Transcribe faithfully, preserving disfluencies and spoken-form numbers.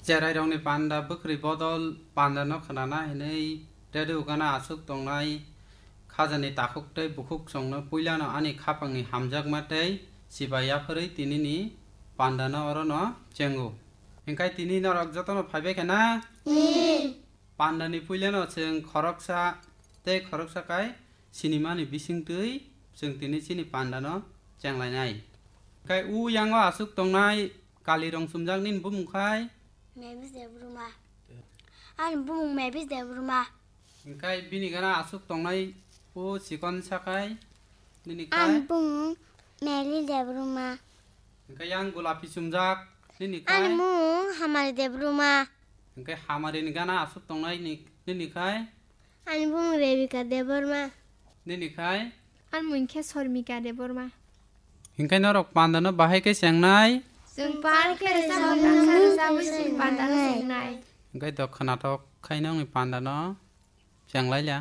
Cherairokni panda bwkhwrwi bodol pandano khwnana hinwi radio gana aswk tongnai khajani takhuk tei bukhuk chwngno puilano ani khapangni hamjakma tei chibai yaphwrwi tinini pandano orono chengo. Hinkhe tini norok jotono phaibai khe na? Pandani puilano chwng khoroksa tei khoroksa kai sinimani bisingtwi chwng tini chini pandano chenglainai. Hinkhe u yango aswk tongnai kalirong chumjak nini bumung khai? Mavis Debbarma. Ani bumung Mavis Debbarma. Hinkhe bini gana aswk tongnai u chikon sakai nini khai? Ani bumung Meli Debbarma. Hinkhe yang gulapi chumjak nini khai? Ani bumung Hamari Debbarma. Hinkhe Hamarini gana aswk tongnai ni-, nini khai? Ani bumung Rebika Debbarma. Nini khai? Ani mung khe Sormika Debbarma. Hinkhe norok pandano bahai khe chengnai? Chwng pal khe rwchapmung tangsa rwchapwi chini pandano chengnai. Hinkhe do khwnathok khai nongni pandano chenglailia.